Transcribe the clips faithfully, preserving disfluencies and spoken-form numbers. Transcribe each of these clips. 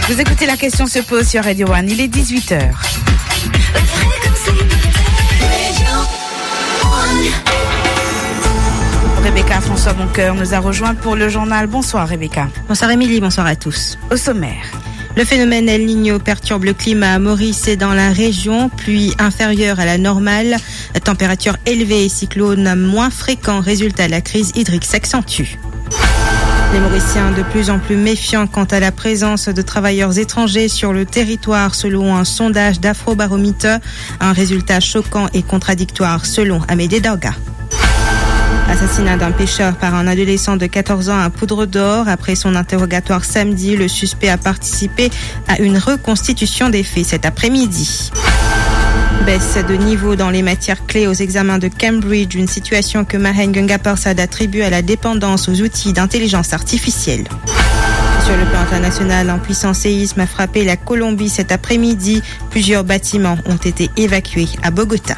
Vous écoutez La Question se pose sur Radio One, il est dix-huit heures. Rebecca François Boncoeur nous a rejoint pour le journal. Bonsoir Rebecca. Bonsoir Émilie, bonsoir à tous. Au sommaire. Le phénomène El Niño perturbe le climat à Maurice et dans la région. Pluie inférieure à la normale, température élevée et cyclone moins fréquent. Résultat, la crise hydrique s'accentue. Les Mauriciens de plus en plus méfiants quant à la présence de travailleurs étrangers sur le territoire, selon un sondage d'Afrobarometer. Un résultat choquant et contradictoire, selon Amédée Daga. Assassinat d'un pêcheur par un adolescent de quatorze ans à Poudre d'Or. Après son interrogatoire samedi, le suspect a participé à une reconstitution des faits cet après-midi. Baisse de niveau dans les matières clés aux examens de Cambridge, une situation que Mahen Gungaparsad attribue à la dépendance aux outils d'intelligence artificielle. Sur le plan international, un puissant séisme a frappé la Colombie cet après-midi. Plusieurs bâtiments ont été évacués à Bogota.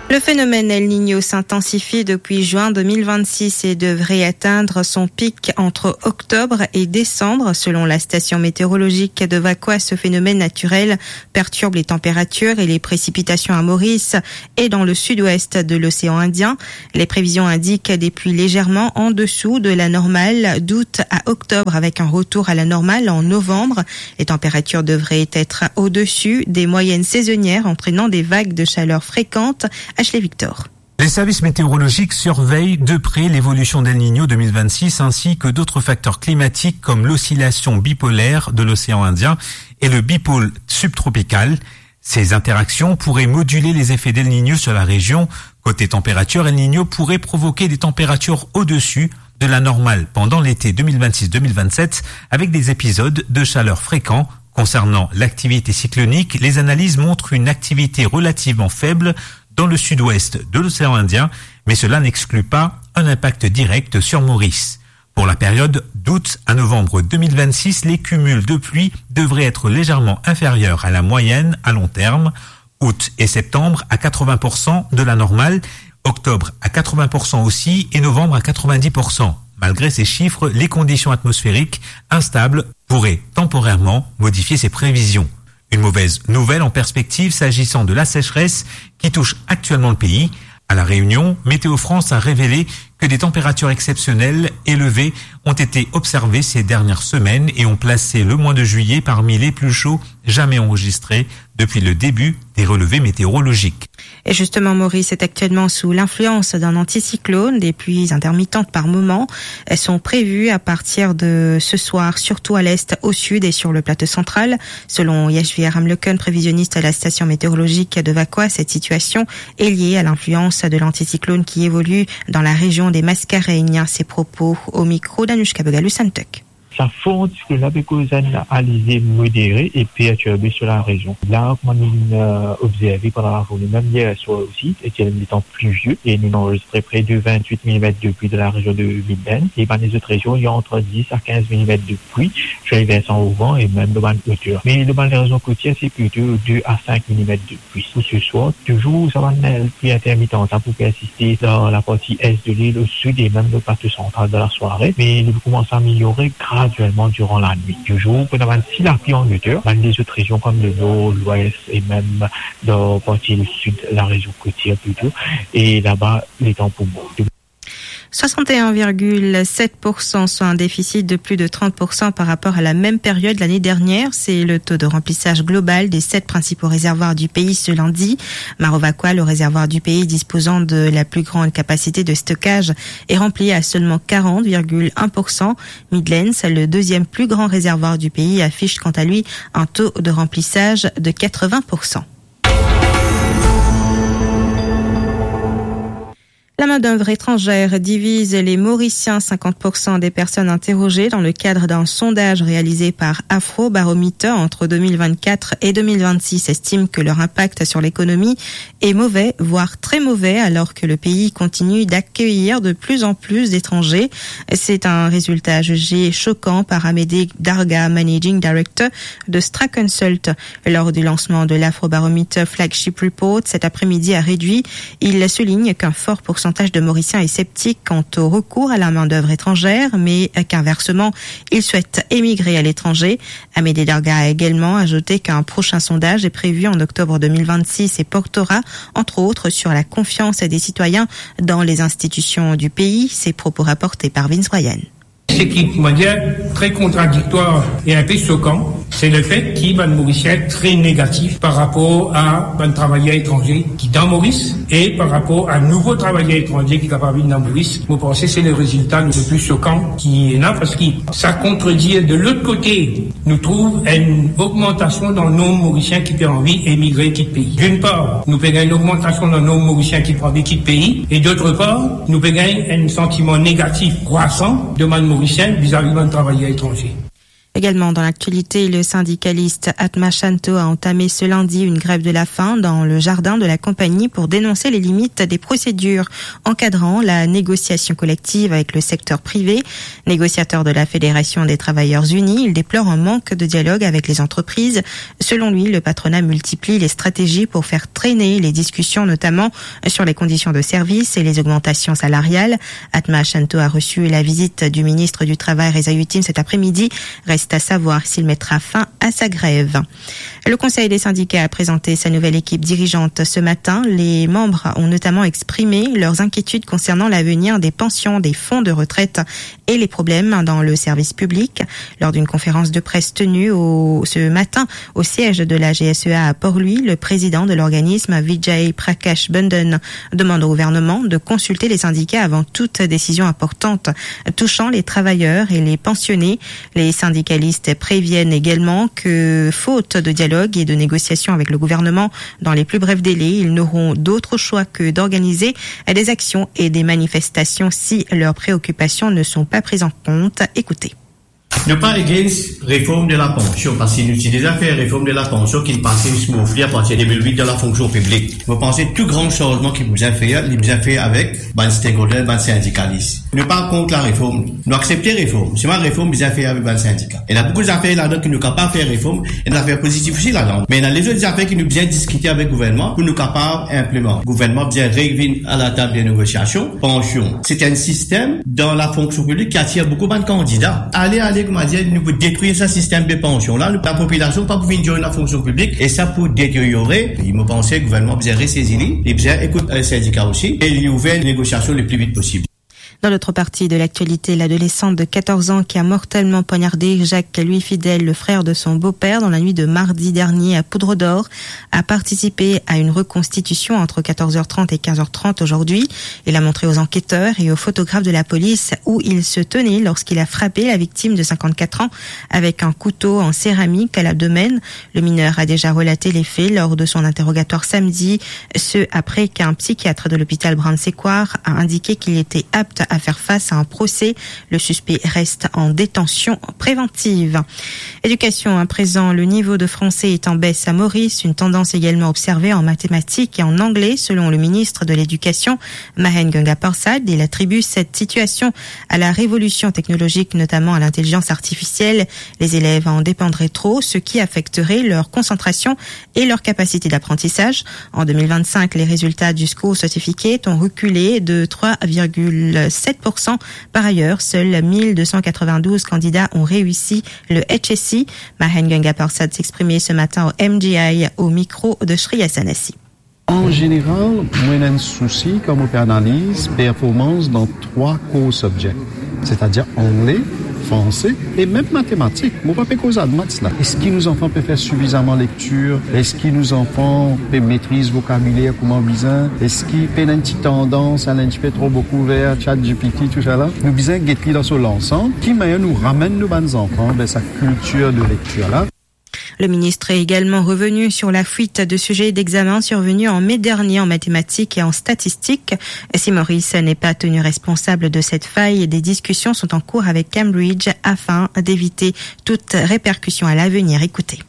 Le phénomène El Niño s'intensifie depuis juin deux mille vingt-six et devrait atteindre son pic entre octobre et décembre. Selon la station météorologique de Vacoas, ce phénomène naturel perturbe les températures et les précipitations à Maurice et dans le sud-ouest de l'océan Indien. Les prévisions indiquent des pluies légèrement en dessous de la normale d'août à octobre, avec un retour à la normale en novembre. Les températures devraient être au-dessus des moyennes saisonnières, entraînant des vagues de chaleur fréquentes. Ashley Victor. Les services météorologiques surveillent de près l'évolution d'El Niño deux mille vingt-six ainsi que d'autres facteurs climatiques comme l'oscillation bipolaire de l'océan Indien et le bipôle subtropical. Ces interactions pourraient moduler les effets d'El Niño sur la région. Côté température, El Niño pourrait provoquer des températures au-dessus de la normale pendant l'été deux mille vingt-six deux mille vingt-sept, avec des épisodes de chaleur fréquents. Concernant l'activité cyclonique, les analyses montrent une activité relativement faible dans le sud-ouest de l'océan Indien, mais cela n'exclut pas un impact direct sur Maurice. Pour la période d'août à novembre deux mille vingt-six, les cumuls de pluie devraient être légèrement inférieurs à la moyenne à long terme. Août et septembre à quatre-vingts pour cent de la normale, octobre à quatre-vingts pour cent aussi et novembre à quatre-vingt-dix pour cent. Malgré ces chiffres, les conditions atmosphériques instables pourraient temporairement modifier ces prévisions. Une mauvaise nouvelle en perspective s'agissant de la sécheresse qui touche actuellement le pays. À La Réunion, Météo France a révélé que des températures exceptionnelles élevées ont été observées ces dernières semaines et ont placé le mois de juillet parmi les plus chauds jamais enregistrés depuis le début des relevés météorologiques. Et justement, Maurice est actuellement sous l'influence d'un anticyclone. Des pluies intermittentes par moments sont prévues à partir de ce soir, surtout à l'est, au sud et sur le plateau central. Selon Yashvi Aramloken, prévisionniste à la station météorologique de Vacoas, cette situation est liée à l'influence de l'anticyclone qui évolue dans la région des Mascareignes. Ses propos au micro d'Anushka Bogalus-Santok. Sa for anticyclone la pe koz enn alizé modéré e pertirbé sur la région. La, kouma nou, euh, observé pandan lazourne, mem yer swar osi, e ti ena letan pli vie, e nou anrezistre pre de vingt-huit millimètres de pluie dans la région de Midland. E bann lezot région, il y a entre dix à quinze millimètres de pluie, sur les versants auvant et même dans bann hauteur. Mais dans bann région côtière, c'est plutôt deux à cinq millimètres de pluie. Pour ce soir, toujours, sa va être une pluie intermittente, hein, pour persister dans la partie est de l'île, au sud et même le plateau central dans la soirée. Mais il commence à améliorer graduellement durant la nuit. Toujours, pour avoir si la pluie en hauteur, bann lezot région comme le nord, l'ouest et même dans la partie du sud, la région côtière plutôt. Et là-bas, letan pou bon. Soixante et un virgule sept pour cent, soit un déficit de plus de trente pour cent par rapport à la même période l'année dernière. C'est le taux de remplissage global des sept principaux réservoirs du pays ce lundi. Maro Vacoas, le réservoir du pays disposant de la plus grande capacité de stockage, est rempli à seulement quarante virgule un pour cent. Midlands, le deuxième plus grand réservoir du pays, affiche quant à lui un taux de remplissage de quatre-vingts pour cent. La main-d'œuvre étrangère divise les Mauriciens. Cinquante pour cent des personnes interrogées dans le cadre d'un sondage réalisé par Afrobarometer entre deux mille vingt-quatre et deux mille vingt-six estiment que leur impact sur l'économie est mauvais, voire très mauvais, alors que le pays continue d'accueillir de plus en plus d'étrangers. C'est un résultat jugé choquant par Amédée Darga, managing director de Straconsult. Lors du lancement de l'Afrobarometer Flagship Report cet après-midi à Réduit, il souligne qu'un fort pourcentage pourcentage de Mauriciens est sceptique quant au recours à la main-d'œuvre étrangère, mais qu'inversement, ils souhaitent émigrer à l'étranger. Amédée Darga a également ajouté qu'un prochain sondage est prévu en octobre deux mille vingt-six et portera, entre autres, sur la confiance des citoyens dans les institutions du pays. Ces propos rapportés par Vince Bryan. C'est qui, comment dire, très contradictoire et un peu choquant, c'est le fait qu'il y a des Mauriciens très négatifs par rapport à des travailleurs étrangers qui dans Maurice et par rapport à nouveaux travailleurs étrangers qui sont capables de venir dans Maurice. Vous pensez que c'est le résultat le plus choquant qui est là parce que ça contredit de l'autre côté, nous trouve une augmentation dans le nombre de Mauriciens qui ont envie d'émigrer, quitter le pays. D'une part, nous payons une augmentation dans le nombre de Mauriciens qui ont envie de quitter le pays et d'autre part, nous payons un sentiment négatif croissant de bann Mauriciens vis-à-vis de travailleurs étrangers. Également dans l'actualité, le syndicaliste Atma Shanto a entamé ce lundi une grève de la faim dans le jardin de la compagnie pour dénoncer les limites des procédures encadrant la négociation collective avec le secteur privé. Négociateur de la Fédération des Travailleurs Unis, il déplore un manque de dialogue avec les entreprises. Selon lui, le patronat multiplie les stratégies pour faire traîner les discussions, notamment sur les conditions de service et les augmentations salariales. Atma Shanto a reçu la visite du ministre du Travail, Reza Yetim, cet après-midi. Reste à savoir s'il mettra fin à sa grève. Le Conseil des syndicats a présenté sa nouvelle équipe dirigeante ce matin. Les membres ont notamment exprimé leurs inquiétudes concernant l'avenir des pensions, des fonds de retraite et les problèmes dans le service public. Lors d'une conférence de presse tenue au, ce matin au siège de la G S E A à Port-Louis, le président de l'organisme, Vijay Prakash Bandhan, demande au gouvernement de consulter les syndicats avant toute décision importante touchant les travailleurs et les pensionnés. Les syndicalistes préviennent également que, faute de dialogue et de négociation avec le gouvernement dans les plus brefs délais, ils n'auront d'autre choix que d'organiser des actions et des manifestations si leurs préoccupations ne sont pas prises en compte. Écoutez. Nou pa against reform de la pansion, parski nou ti deza fer reform de la pansion ki pase smoothly apartir de de mil wit dan lafonksion piblik. Mo panse tou gran sanzman ki bizin fer, li bizin fer avek bann stakeholder, bann sindikalis. Nou pa kont lareform, nou aksepte reform. Selman reform bizin fer avek bann sindika. Ena boukou zafer ladan ki nou kapav fer reform, ena zafer pozitif osi ladan. Me ena lezot zafer ki nou bizin diskite avek gouvernman pou nou kapav inplimant. Gouvernman bizin revinn a latab de negosiasion. Pansion, se enn sistem dan lafonksion piblik ki atir boukou bann kandida. Ale, ale, koumadir, nou pou detrir sa sistem de pansion la, nou, lapopilasion pa pou vinn join lafonksion piblik, e sa pou deteryore. E mo panse gouvernman bizin resezi li, li bizin ekout, eh, sindika osi, e li ouver negosiasion le pli vit posib. Dans l'autre partie de l'actualité, l'adolescente de quatorze ans qui a mortellement poignardé Jacques, lui fidèle, le frère de son beau-père, dans la nuit de mardi dernier à Poudre d'Or, a participé à une reconstitution entre quatorze heures trente et quinze heures trente aujourd'hui. Il a montré aux enquêteurs et aux photographes de la police où il se tenait lorsqu'il a frappé la victime de cinquante-quatre ans avec un couteau en céramique à l'abdomen. Le mineur a déjà relaté les faits lors de son interrogatoire samedi, ce après qu'un psychiatre de l'hôpital Brown-Séquard a indiqué qu'il était apte à faire face à un procès. Le suspect reste en détention préventive. Éducation à présent, le niveau de français est en baisse à Maurice, une tendance également observée en mathématiques et en anglais, selon le ministre de l'Éducation, Mahen Gungaparsad. Il attribue cette situation à la révolution technologique, notamment à l'intelligence artificielle. Les élèves en dépendraient trop, ce qui affecterait leur concentration et leur capacité d'apprentissage. En deux mille vingt-cinq, les résultats du School Certificate ont reculé de trois virgule sept pour cent. Par ailleurs, seuls mille deux cent quatre-vingt-douze candidats ont réussi le H S C. Mahen Gungaparsad s'exprimait ce matin au M G I au micro de Shreya Sanasi. An zeneral, mwa ena enn sousi kan mo pe analiz performans dan trwa core subject, setadir angle, franse e mem matematik. Mo pa pe koz admaths la. Eski nou zanfan pe fer sifizaman lektir? Eski nou zanfan pe metriz vokabiler kouma bizin? Eski pena enn ti tandans al enn tipe tro boukou ver ChatGPT, tousala? Nou bizin get li dan so lansam. Ki manier nou ramenn nou bann zanfan ver sa kiltir de lektir la? Le ministre est également revenu sur la fuite de sujets d'examen survenue en mai dernier en mathématiques et en statistiques. Si Maurice n'est pas tenu responsable de cette faille, des discussions sont en cours avec Cambridge afin d'éviter toute répercussion à l'avenir. Écoutez.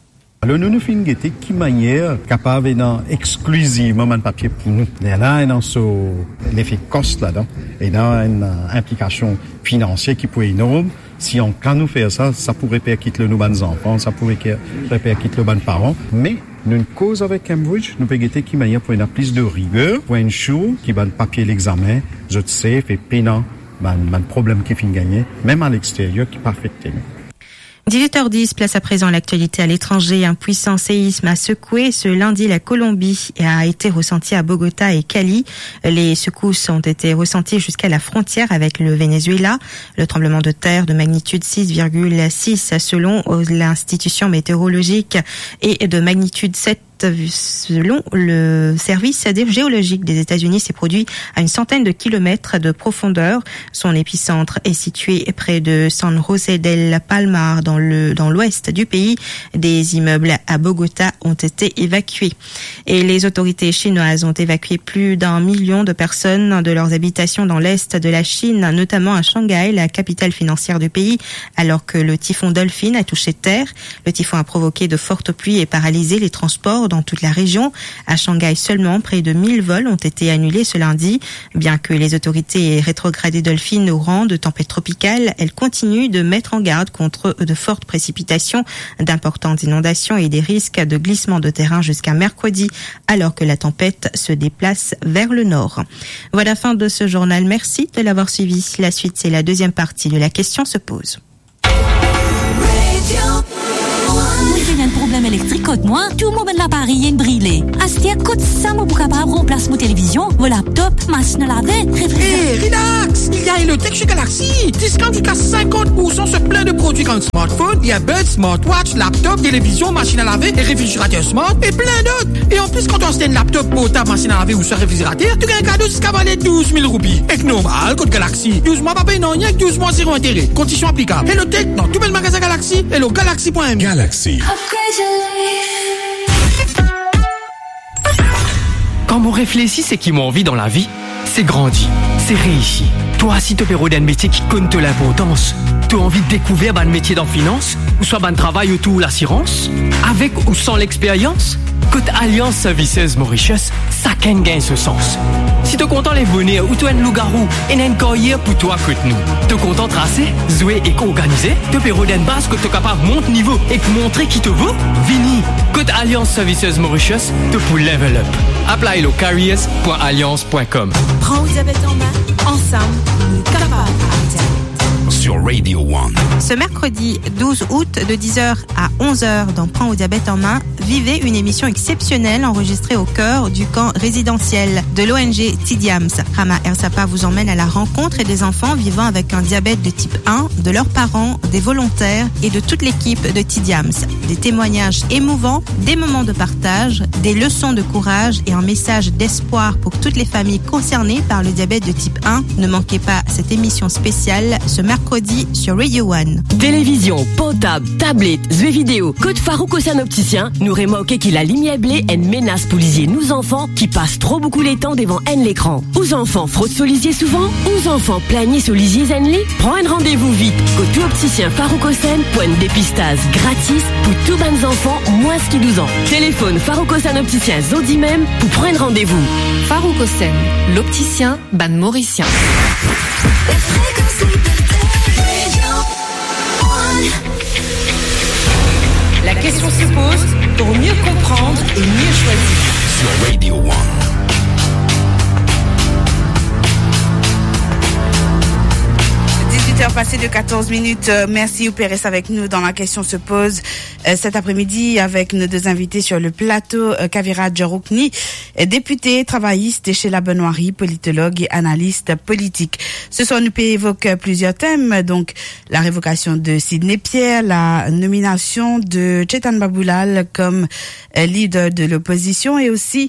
Alor, nou, nou finn gete ki manier kapav ena exklizivman bann papie pou nou. Lerla ena so lefe cost ladan, ena enn, eh, inplikasion finansie ki pou enorm. Si an ka nou fer sa, sa pou reperkit lor nou bann zanfan, sa pou reker-, reperkit lor bann paran. Me Nou'nn koz avek Cambridge, nou pe gete ki manier pou ena plis de riger, pou ensure ki bann papie lexamen, zot safe e pena bann, bann problem ki finn gagne, mem alexterier, ki pe afekte nou. Dix-huit heures dix, place à présent à l'actualité à l'étranger. Un puissant séisme a secoué ce lundi la Colombie et a été ressenti à Bogota et Cali. Les secousses ont été ressenties jusqu'à la frontière avec le Venezuela. Le tremblement de terre de magnitude six virgule six selon, euh, l'institution météorologique et de magnitude sept selon le service des géologiques des États-Unis s'est produit à une centaine de kilomètres de profondeur. Son épicentre est situé près de San José del Palmar, dans le, dans l'ouest du pays. Des immeubles à Bogota ont été évacués. Et les autorités chinoises ont évacué plus d'un million de personnes de leurs habitations dans l'est de la Chine, notamment à Shanghai, la capitale financière du pays, alors que le typhon Dolphin a touché terre. Le typhon a provoqué de fortes pluies et paralysé les transports dans toute la région. À Shanghai seulement, près de mille vols ont été annulés ce lundi. Bien que les autorités aient rétrogradé Dolphin au rang de tempête tropicale, elle continue de mettre en garde contre de fortes précipitations, d'importantes inondations et des risques de glissement de terrain jusqu'à mercredi, alors que la tempête se déplace vers le nord. Voilà, fin de ce journal. Merci de l'avoir suivi. La suite, c'est la deuxième partie de La question se pose. Mwen finn ena enn problem elektrik kot mwa, tou mo bann laparey inn brile. Aster kot sa mo pou kapav ranplas mo televizion, mo laptop, masinn a lave, refrizeratè? Hey, relax! Il y a Elotech chez Galaxy. Discount jusqu'à cinquante pour cent sur plein de produits comme smartphone, earbuds, smartwatch, laptop, télévision, machine à laver et réfrigérateur smart et plein d'autres. Et en plus, quand tu achètes un laptop, portable, machine à laver ou soit réfrigérateur, tu gagnes un cadeau jusqu'à valeur douze mille roupies. Ek normal, kot Galaxy. Douz mwa pa pey nanye, douz mwa zero intérêt. Conditions applicables. Hello Tech, dans tout bel magasin Galaxy, hello galaxy point M. Galaxy. Upgrade your life. Kan mo reflesi seki mo anvi dan lavi, se grandi, se reisi. Twa si to pe rod enn metie ki konn to linportans, to anvi dekouver bann metie dan finans, ouswa bann travay otour lasirans, avek ou san lexperyans, kot Alliance Services Mauritius, sakenn gagn so sans. Si to kontan lev boner ou to enn lougarou, ena enn karyer pou twa kot nou. To kontan trase, zwe ek organize, to pe rod enn baz kot to kapav mont nivo ek montre ki to vo? Vini, kot Alliance Services Mauritius, to pou level up. Apply lo careers point alliance point com. Pran ou diabet an me, ansam, nou kapav aret diabet. Sur Radio One. Ce mercredi douze août de dix heures à onze heures dans Pran ou diabet an me, vivez une émission exceptionnelle enregistrée au cœur du camp résidentiel de l'O N G Tidiams. Rama Ersapa vous emmène à la rencontre des enfants vivant avec un diabète de type un, de leurs parents, des volontaires et de toute l'équipe de Tidiams. Des témoignages émouvants, des moments de partage, des leçons de courage et un message d'espoir pour toutes les familles concernées par le diabète de type un. Ne manquez pas cette émission spéciale ce mercredi sur Radio One. Televizion, portab, tablet, zwe video, kot Farouk Hossein Opticien, nou remarke ki lalimier ble enn menas pou lizie nou zanfan ki pas tro boukou letan devan enn lekran. Ou zanfan frot so lizie souvan? Ou zanfan pligne so lizie zenn li? Pran enn randevou vit kot ou optisien Farouk Hossein pou enn depistaz gratis pou tou bann zanfan mwins ki douz an. Telefonn Farouk Hossein Opticien zordi mem pou pran enn randevou. Farouk Hossein, loptisien bann Morisien. La question se pose pour mieux comprendre et mieux choisir. Sur Radio One. Dix-huit heures passées de quatorze minutes. Euh, merci, ou pe res avec nous dans La question se pose, euh, cet après-midi avec nos deux invités sur le plateau, euh, Kaviradj Roukni, euh, député travailliste chez la Benoirie, politologue et analyste politique. Ce soir, nous pouvons évoquer plusieurs thèmes, donc la révocation de Sidney Pierre, la nomination de Chetan Baboulal comme, euh, leader de l'opposition et aussi,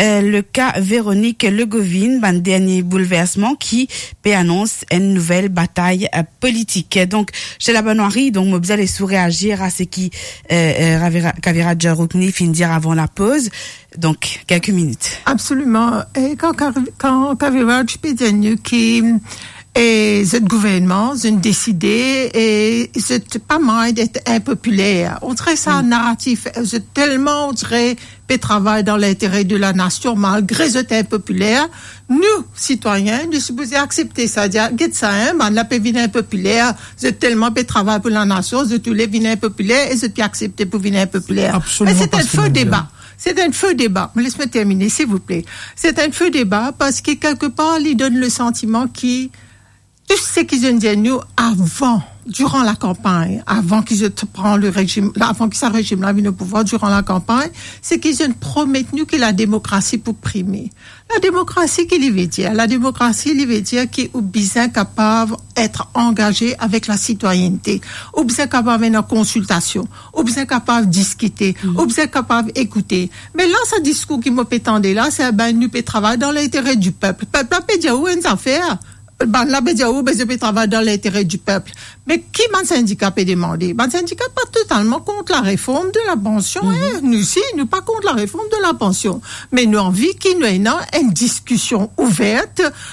euh, le cas Véronique Legovin, bann dernier bouleversement ki pe anons enn nouvel batay, euh, politik. Donc, chez la Benoirie, donc, mo bizin les sous réagir à ce qui, euh, euh, Ravira-, Kaviradj Roukni finn dir avant la pause. Donc, quelques minutes. Absoliman. E kan, kan, kan Kaviradj pe dir nou ki, E zot gouvernman, zot inn deside, e zot pa mind et inpopiler. On dirait sa naratif, zot telman, on dirait, pe travay dan lintere de lanasion, malgre zot inpopiler. Nou, sitwayin, nou sipoze aksepte sa, dir, "Get sa, hein, bannla pe vinn inpopiler, zot telman pe travay pou lanasion, zot oule vinn inpopiler e zot pe aksepte pou vinn inpopiler." Absoliman. Me se pa enn fo deba. Se enn fo deba. Me les mwa termine, silvouple. Se enn fo deba parski, kelkepar, li donn le santiman ki tou seki zot inn dir nou avan, diran lakanpagn, avan ki zot pran le rezim, avan ki sa rezim la vinn o pouvwar, diran lakanpagn, seki zot inn promet nou ki lademokrasi pou prime. Lademokrasi, ki li ve dir? Lademokrasi, li ve dir ki ou bizin kapav et angaze avek lasitwayennte. Ou bizin kapav ena konsiltasion. Ou bizin kapav diskite. Ou bizin kapav ekoute. Me la, sa diskour ki mo pe tande la, se, "Ben, nou pe travay dan lintere di pep." Pep la pe dir ou enn zafer, bannla pe dir ou, "Ben, zot pe travay dan lintere di pep." Me ki bann sindika pe demande? Bann sindika pa totalman kont lareform de lapansion, hein. Nou si, nou pa kont lareform de lapansion. Me nou anvi ki nou ena enn diskision ouver,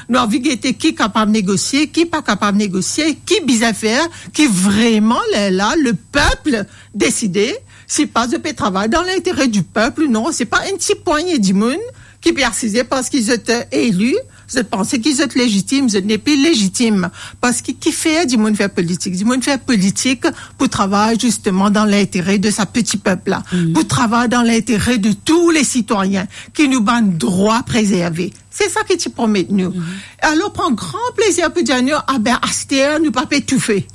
nou anvi gete ki kapav negosie, ki pa kapav negosie, ki bizin fer, ki vreman, lerla, le pep deside, si pa zot pe travay dan lintere di pep, non, se pa enn ti pwagne dimoun ki pe asize parski zot, eh, eli, zot panse ki zot lezitim, zot nepli lezitim. Parski kifer dimoun fer politik? Dimoun fer politik pou travay zisteman dan lintere de sa peti pep la, pou travay dan lintere de tou le sitwayin, ki nou bann drwa prezerve. Se sa ki ti promet nou. Alor, pran gran plezir pou dir nou, "Ah ben, aster, nou pa pe toufe."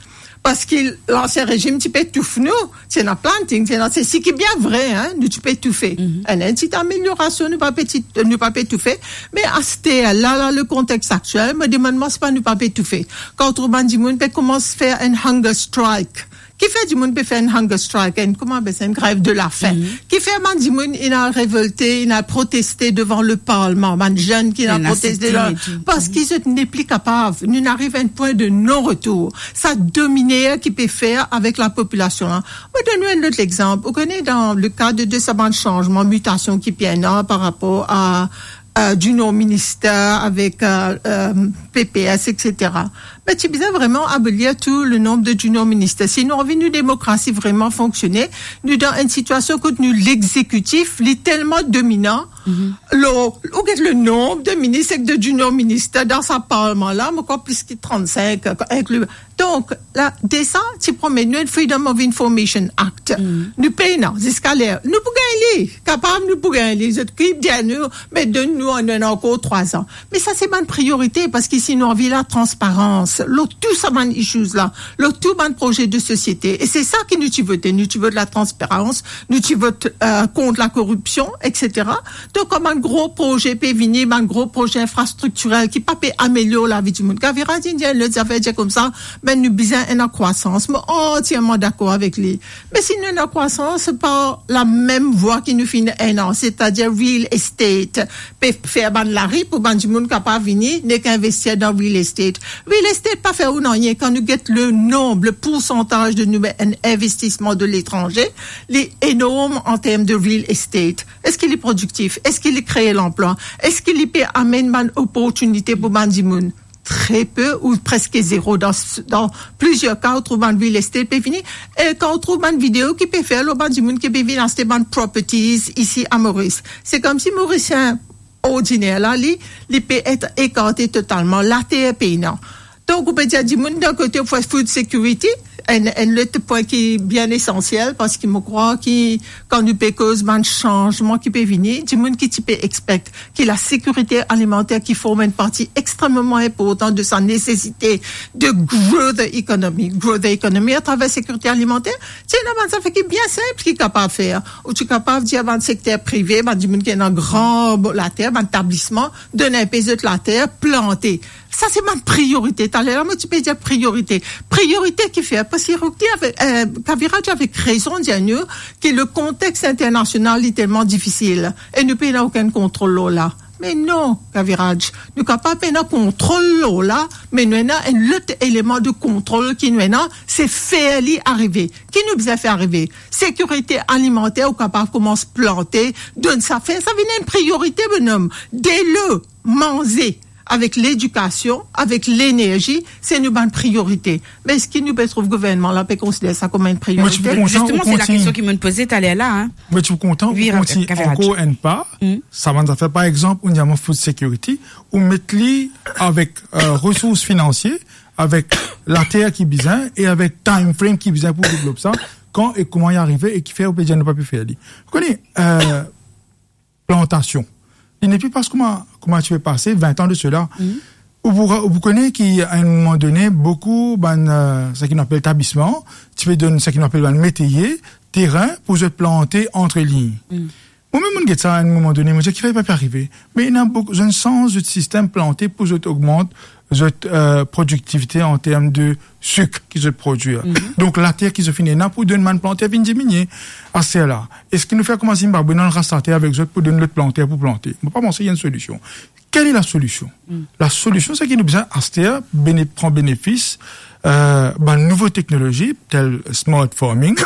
Parski lansien rezim ti pe touf nou, ti ena planting, ti ena sesi ki bien vre, hein, nou ti pe toufe. Ena enn ti ameliorasion, nou pa pe ti, nou pa pe toufe. Me aster la, la, le kontex aktiel, mo demann mwa, si pa nou pa pe toufe. Kan ou trouv bann dimoun pe koumans fer enn hunger strike. Kifer dimoun pe fer enn hunger strike, enn, kouma apel sa, enn grev de lafin? Kifer bann dimoun inn al revolte, inn al proteste devan le parlman, bann zenn ki inn al proteste la, parski zot nepli kapav. Nou inn ariv a enn pwin de non-retour. Sa dominer ki pe fer avek lapopilasion la. Mo donn ou enn lot lexanp. Ou kone, dan le kad de sa bann sanzman, mitasion ki pe ena par rapor a, euh, Junior Minister avek, euh, euh, P P S, et cetera. Me ti bizin vreman abolir tou le nonb de Junior Minister. Si nou anvi nou demokrasi vreman fonksione, nou dan enn sitiasion kot nou lexekitif, li telman dominan, lo, ou get le nonb de minis ek de Junior Minister dan sa parlman la, mo krwar plis ki trant-sink, inkli. Donk, la, deza, ti promet nou enn Freedom of Information Act. Nou pena, ziska ler. Nou pou gagn li. Kapav nou pou gagn li. Zot ki dir nou, me donn nou, nou ena ankor trwa-z-an. Me sa se bann priorite, parski si nou anvi latransparans, lo tou sa bann issues la, lo tou bann proze de sosiete, e se sa ki nou ti vote, nou ti vot latransparans, nou ti vot, euh, kont lakoripsion, et cetera. Donk, kan bann gro proze pe vini, bann gro proze infrastriktirel ki pa pe amelior lavi dimoun. Kaviradj inn dir lot zafer, dir koumsa, ben, nou bizin ena krwasans. Mo antierman dakor avek li. Me si nou ena krwasans, se pa lamem vwa ki nou finn ena, setadir real estate, pe fer bann lari pou bann dimoun kapav vini, nek investir dan real estate. Real estate pa fer ou nanye. Kan nou get le nonb, le poursantaz de nou enn investisman de letranze, li enorm an term de real estate. Eski li prodiktif? Eski li kree lanplwa? Eski li pe amenn bann oportinite pou bann dimoun? Tre pe ou preske zero. Dan, dan plizier ka, ou trouv bann real estate pe vini. E kan ou trouv bann video ki pe fer lo bann dimoun ki pe vinn aste bann properties isi a Moris, se koumsi Morisien ordiner la, li, li pe et ekarte totalman. Later pena. Donk, ou pe dir dimoun, dan kote, ou fer food security, enn, enn lot pwin ki bien esansiel, parski mo krwar ki kan nou pe koz bann sanzman ki pe vini, dimoun ki ti pe expect ki lasekirite alimanter ki form enn parti extrememan inportan de sa nesesite de grow the economy, grow the economy atraver sekirite alimanter, ti ena bann zafer ki bien sinp ki kapav fer. Ou ti kapav dir bann sekter prive, bann dimoun ki ena gran later, bann etablisman, donn inpe zot later, plante. Sa se bann priorite. Taler la, mo ti pe dir priorite. Priorite ki fer, parski Rougti avek, euh, Kaviradj avek rezon dir nou ki le kontex internasional li telman difisil e nou pena okenn kontrol lor la. Me non, Kaviradj, nou kapav pena kontrol lor la, me nou ena enn lot eleman de kontrol ki nou ena, se fer li arive. Ki nou bizin fer arive? Sekirite alimanter, ou kapav koumans plante, donn sa, fer sa vinn enn priorite, bonom. Delo, manze, avek ledikasion, avek lenerzi, se nou bann priorite. Me eski nou pe trouv gouvernman la pe konsider sa kouma enn priorite? Mo ti pou kontan, Zisteman, se la kestion ki mo'nn poze taler la, hein. Mo ti pou kontan, wi, ou kontign ankor enn pa, sa bann zafer, par exanp, ou dir mwa food security, ou met li avek, euh, resours finansie, avek later ki bizin e avek time frame ki bizin pou devlop sa, kan e kouma li arive e kifer ou pe dir nou pa pe fer li. Ou kone, euh, plantasion. Li nepli pas kouma, kouma ti pe pase vin an de sela. Ou pou, ou pou kone ki, a enn moman done, boukou bann, euh, seki nou apel tablisman, ti pe donn seki nou apel bann meteye, terin pou zot plante ant lign. Mwa mem, mo'nn get sa a enn moman done, mo dir, "Kifer pa pe arive?" Me ena boukou, zot inn sanz zot sistem plante pou zot ogmant zot, euh, prodiktivite an term de sik ki zot prodwir. Donk, later ki zot finn ena pou donn bann planter vinn diminie. Aster la, eski nou fer kouma Zimbabwe, nou al ras later avek zot pou donn lot planter pou plante? Mo pa panse ena enn solision. Kel e lasolision? Lasolision, seki nou bizin aster bene-, pran benefis, euh, bann nouvo teknolozi, tel smart farming,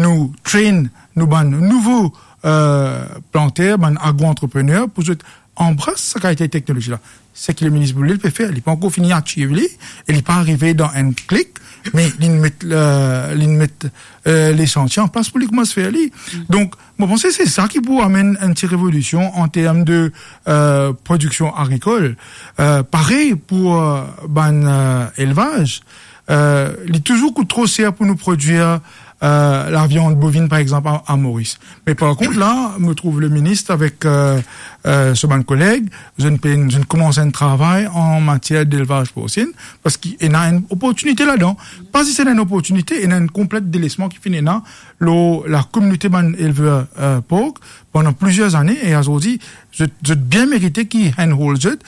nou train nou bann nouvo, euh, planter, bann agro-antreprener, pou zot anbras sa kalite teknolozi la. Seki le minis Boulay pe fer, li pa ankor fini achieve li, e li pa arive dan enn klik, me li'nn met, euh, li'nn met, euh, lesantie an plas pou li koumans fer li. Donk, mo panse se sa ki pou amenn enn ti revolision an term de, euh, prodiksion agrikol. Euh, parey pou, euh, bann, euh, elvaz, euh, li touzour kout tro ser pou nou prodwir, euh, laviann bovinn, par exanp, a, a Moris. Me par kont, la, mo trouv le minis avek, euh, euh, so bann koleg, zot inn pe, zot inn koumans enn travay an matier delvaz porsin, parski ena enn oportinite ladan. Pa zis ena enn oportinite, ena enn konplet delesman ki finn ena lor lakominote bann elver, euh, pork pandan plizier zane, e azordi, zot, zot bien merite ki handhold zot,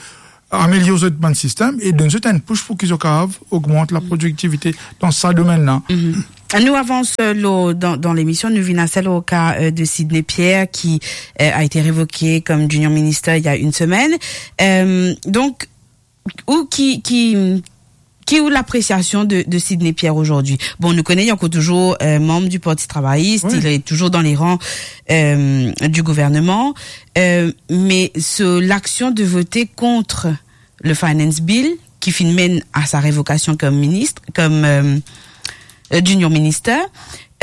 amelior zot bann sistem e donn zot enn pous pou ki zot kapav ogmant laprodiktivite dan sa domenn la. Nou avans, euh, lor, dan, dan lemision, nou vinn aster lor ka, euh, de Sidney Pierre qui, euh, a été révoqué comme junior minister il y a une semaine. Euh, donc, ou ki, ki, ki ou l'appréciation de, de Sidney Pierre aujourd'hui? Bon, nou kone, li ankor touzour, euh, membre du Parti Travailliste, il est toujours dans les rangs, euh, du gouvernement, euh, mais ce, l'action de voter contre le Finance Bill, ki finn menn a sa revokasion kom minis, kom, euh, euh, junior minister,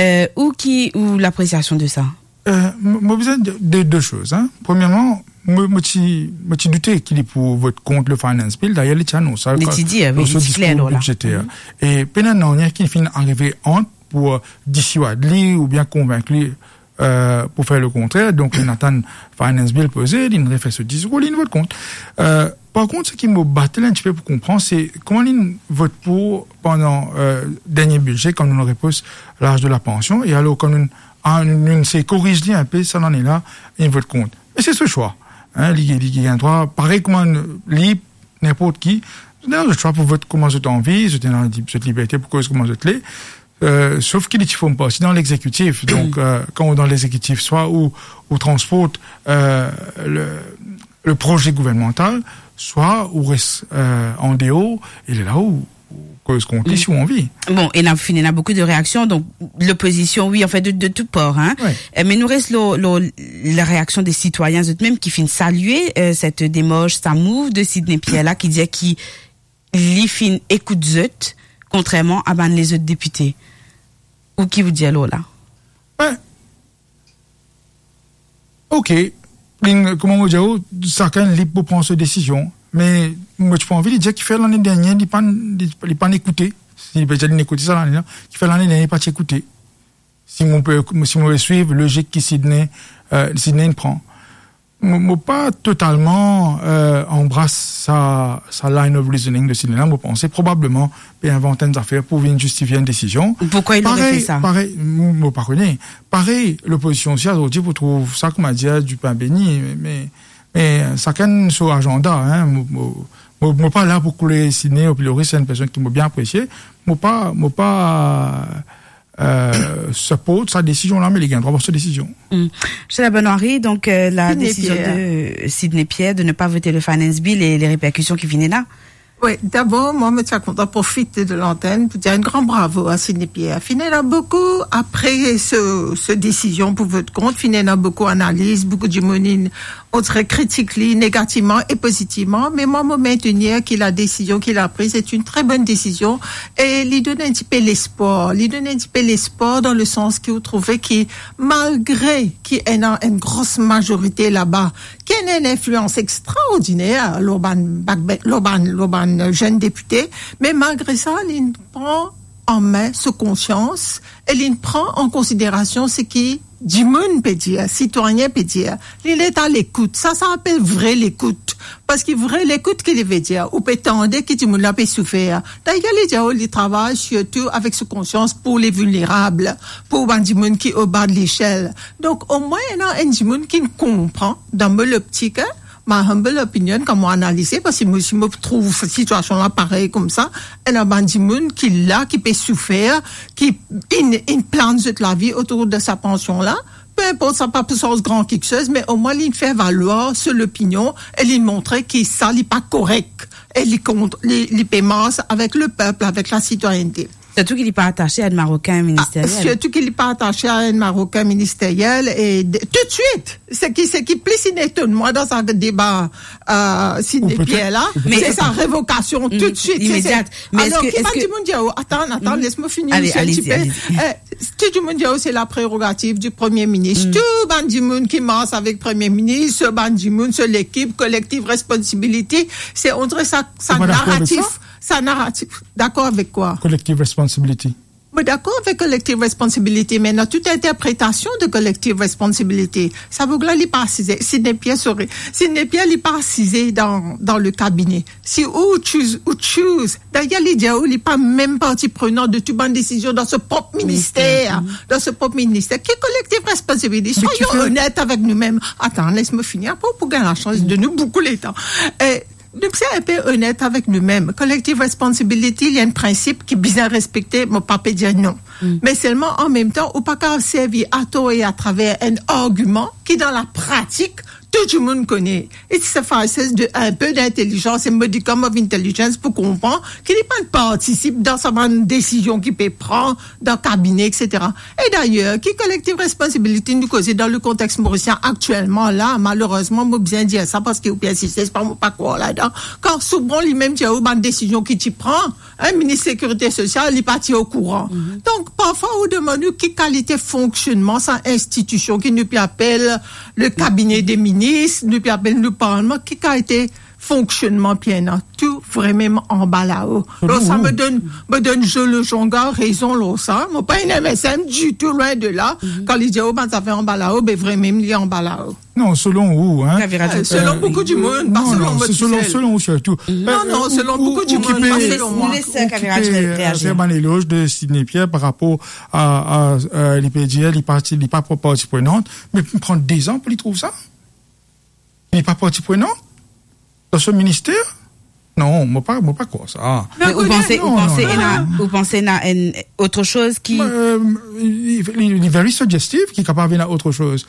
euh, ou ki, ou l'appréciation de ça? Euh, mo, mo bizin de, de, de soz, hein. Premierman, mo, mo ti, mo ti doute ki li pou vot kont le Finance Bill. Dayer, li ti anons sa, li ti dir, wi, lor so diskour bidzeter. E pena nanye ki finn arive ant pou, euh, disiwad li oubien konvink li, euh, pou fer le kontrer. Donk, li atann Finance Bill poze, li refer so diskour, li vot kont. Euh, par kont, seki mo batal enn tipe pou konpran, se kouma li vot pou pandan, euh, dernie bidze, kan nou repous laz de la pansion, e alor kan nou, ah, nou, nou sey koriz li inpe, sa lane la, li vot kont. Me se so swa. Hein, li, li, li gagn drwa, parey kouma nou, li, ninport ki, zot ena zot swa pou vot kouma zot anvi, zot ena li-, zot liberte pou koz kouma zot le. Euh, sof ki li ti form parti dan lexekitif. Donk, euh, kan ou dan lexekitif, swa ou, ou transport, euh, le, le proze gouvernmantal, swa ou res, euh, an deor, e la ou, ou koz kont li si ou anvi. Bon, ena, finn ena boukou de reaksion, donk lopozision, wi, anfin, de, de tou por, hein. Euh, me nou res lor, lor la reaksion de sitwayin, zot mem ki finn salie, euh, set demars, sa move de Sidney Pierre la, ki dir ki li finn ekout zot, kontrerman a bann lezot depite. Ou ki ou dir lor la? Be, ok, li, kouma mo dir ou, sakenn lib pou pran so desizion, me mo ti pou anvi li dir kifer lane dernie li pa, li, li pa ekoute. Si li pe dir li ekoute sa lane la, kifer lane dernie li pa ti ekoute? Si mo pe, si mo pe swiv lozik ki Sidney, euh, Sidney inn pran. Mo, mo pa totalman, euh, anbras sa, sa line of reasoning de Sidney la. Mo panse probableman pe invant enn zafer pou vinn zistifie enn desizion. Pourkwa li pe fer sa? Parey, parey, mo, mo pa kone. Parey, lopozision osi, azordi, pou trouv sa, kouma dir, dipin beni, me, me, me sakenn so azanda, hein. Mo, mo, mo, mo pa la pou koule Sidney o pilori, se enn personn ki mo bien apresie. Mo pa, mo pa, euh, support sa desizion la, me li gagn drwa pran so desizion. Hmm. Misie Labonne Henry, donc, euh, la décision de Sidney Pierre de ne pas voter le Finance Bill et les répercussions qui viennent là. Wi, dabor, mwa, mo ti a kontan profit de lantenn pou dir enn gran bravo a Sidney Pierre. Finn ena boukou, apre se, se desizion pou vot kont, finn ena boukou analiz, boukou dimoun inn, on dirait, kritik li negativman e pozitivman, me mwa, mo mentenir ki la desizion ki li la priz, se enn tre bonn desizion, e li donn enn tipe lespwar. Li donn enn tipe lespwar dan le sans ki ou trouve ki, malgre ki ena enn gros mazorite laba, ki ena enn inflians extraordiner lor bann, bann, lor bann, lor bann zenn depite, me malgre sa, li pran an me so konsians e li pran an konsiderasion seki dimoun pe dir, sitwayin pe dir. Li, li est à l'écoute. Sa, sa apel vre lekout. Parski vre lekout, ki li ve dir? Ou pe tande ki dimoun la pe soufer. Dayer, li dir, oh, li travay sirtou avek so konsians pou le vilnerab, pou bann dimoun ki o ba de lesel. Donk, omwin, ena enn dimoun ki konpran, dan mo loptik, hein, my humble opinion, kan mo analize, parski mo, si mo trouv sitiasion la parey koumsa, ena bann dimoun ki la, ki pe soufer, ki inn, inn plan zot lavi otour de sa pansion la, pe inport sa pa pou sanz gran kiksoz, me omwin li fer valwar so lopinion e li montre ki sa li pa korek e li kont, li, li pe mars avek lepep, avek lasitwayinite. Sirtou ki li pa atase a enn Marokin ministeriel. Ah, sirtou ki li pa atase a enn Marokin ministeriel e de, toutswit, seki, seki plis inn etonn mwa dan sa deba, euh, Sidney Pierre la, se sa revokasion toutswit, imediat. Alor, ki bann dimoun dir, oh, atann, atann, les mo fini, ale, osi, enn tipe. Tou dimoun dir, oh, se la prerogativ di Premie Minis. Tou bann dimoun ki mars avek Premie Minis, bann dimoun, so lekip, collective responsibility, se, on dirait, sa, sa naratif. Sa naratif. Dakor avek kwa? Collective responsibility. Mo dakor avek collective responsibility, me dan tout interpretasion de collective responsibility, sa boug la, li pa asize, Sidney Pierre, sorry, Sidney Pierre, li pa asize dan, dan le kabine. Si ou choose, ou choose. Dayer, li dir ou, li pa mem parti prenan de tou bann desizion dan so prop minister. Dan so prop minister. Ki collective responsibility? Soyon onet avek nou mem. Atann, les mo fini, apre ou pou gagn lasans donn nou boukou letan. E, Donk, si nou pe onet avek nou mem, collective responsibility, li enn prinsip ki bizin respekte, mo pa pe dir non. Me selman, an mem tan, ou pa kapav servi ator e atraver enn argiman ki, dan lapratik, tou dimoun kone. It suffices de enn pe d'intelizans, a modicum of intelligence, pou konpran ki li pa partisip dan sa bann desizion ki pe pran dan kabine, et cetera. E dayer, ki collective responsibility nou koze dan le kontex morisien aktielman la? Malerezman, mo bizin dir sa parski ou pe insiste, se pa, mo pa krwar ladan. Kan Souban limem ti dir ou bann desizion ki ti pran, hein, minis sekirite sosial, li pa ti okouran. Donk, parfwa, ou demann ou ki kalite fonksionnman sa institision ki nou pe apel le kabine de minis, nou pe apel nou parlman, ki kalite fonksionnman ki ena, tou vremem anba lao. Lor sa, mo donn, mo donn Joe Lejonga rezon lor sa. Mo pa enn M S M ditou, lwin de la. Kan li dir ou bann zafer anba lao, be vremem li anba lao. Non, selon ou, hein. Kaviradj, selon boukou dimoun, pa selon mo tousel. Selon ou sirtou. Non, non, selon boukou dimoun, pa selon mwa. Ou ki pe, ou ki pe, euh, fer bann eloz de Sidney Pierre par rapor a, a, euh, li pe dir, li pa, li pa parti prenant, me pran dezan pou li trouv sa. Li pa parti prenant dan so minister? Non, mo pa, mo pa krwar sa. Me ou panse, ou panse ena, ou panse ena enn otro soz ki... Euh, li, li, li very suggestive, ki kapav ena otro soz.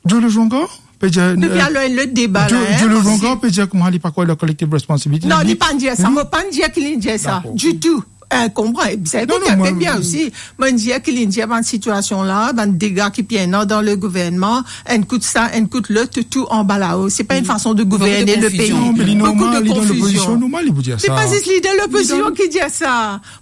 Joe Lejonga pe dir, euh, alor enn lot deba la, hein, Joe Lejonga pe dir kouma li pa krwar dan collective responsibility. Non, li pa dir sa, mo pa dir ki li dir sa ditou. Dakor. Eh, konpran, eh, sa, non, non, bien osi. Mo dir ki li dir bann sitiasion la, bann dega ki pe ena dan le gouvernman, enn kout sa, enn kout lot, tou anba lao. Se pa enn fason de gouverne le pei. Boukou de konfizion. Non, me li normal, li dan lopozision, normal, li pou dir sa. Se pa zis lider lopozision ki dir sa.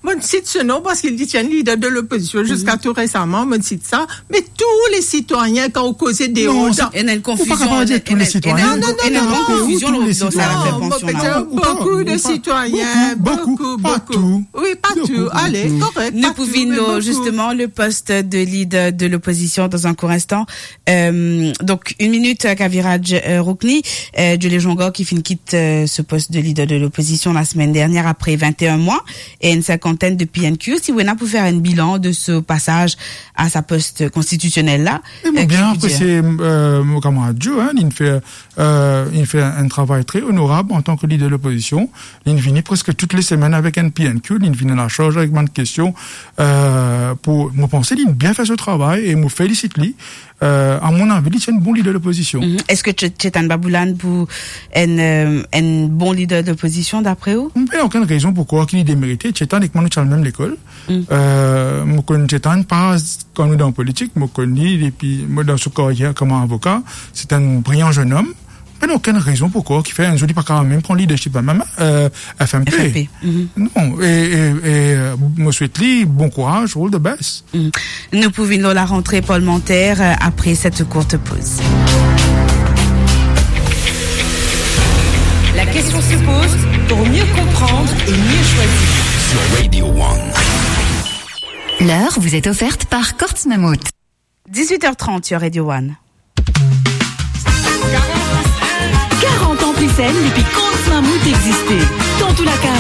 Mo sit so nom parski li ti enn lider de lopozision ziska tou resaman, mo sit sa. Me tou le sitwayin, kan ou koze deor, non, dan, ena enn konfizion, ou pa kapav dir tou le sitwayin. Non, non, non, non, non. Ena enn konfizion dan sa lafer pansion la. Non, mo pe dir boukou de sitwayin, boukou, boukou, boukou, boukou. Wi, pa tou. Ale, korek, pa tou, me boukou. Nou pou vinn lor, zisteman, le post de lider de lopozision dan enn kour instan. Euh, donk, enn minit, euh, Kaviradj, euh, Roukni, euh, Joe Lejonga ki finn kit, euh, so post de lider de lopozision lasemenn dernier apre vent-e-enn mwa e enn sinkantenn de P N Q. Si ou ena pou fer enn bilan de so pasaz a sa post konstitisionel la, euh, ki ou pou dir? E mo bien apresie, euh, mo kamarad Joe, hein, li fer, euh, li fer enn travay tre onorab antan ki lider lopozision. Li vini preske tou le semenn avek enn P N Q, li vini dan lasarz avek bann kestion, euh, pou, mo panse li bien fer so travay e mo felisit li. Euh, a mon avi, li ti enn bon lider lopozision. Mhm. Eski Che-, Chetan Babulan pou enn, euh, enn bon lider lopozision, dapre ou? Mo pena okenn rezon pou krwar ki li demerite. Chetan ek mwa nou ti al mem lekol. Mm. Euh, mo konn Chetan pa kan nou dan politik, mo konn li depi, mo, dan so karyer kouma avoka. Se enn briyan zennom. Pena okenn rezon pou krwar ki fer enn zour li pa kapav mem pran leadership mem, euh, F M P. F M P, mhm. Non, e, e, e, euh, mo swet li bon kouraz, all the best. Mhm. Nou pou vinn lor larantre parlmanter, euh, apre set kourt poz. La question se pose pour mieux comprendre et mieux choisir. Sur Radio One. L'heure vous est offerte par Courts Mammouth. Dix-huit heures trente sur Radio One. Karant an plis enn depi Courts Mammouth existe. Dan tou lakaz,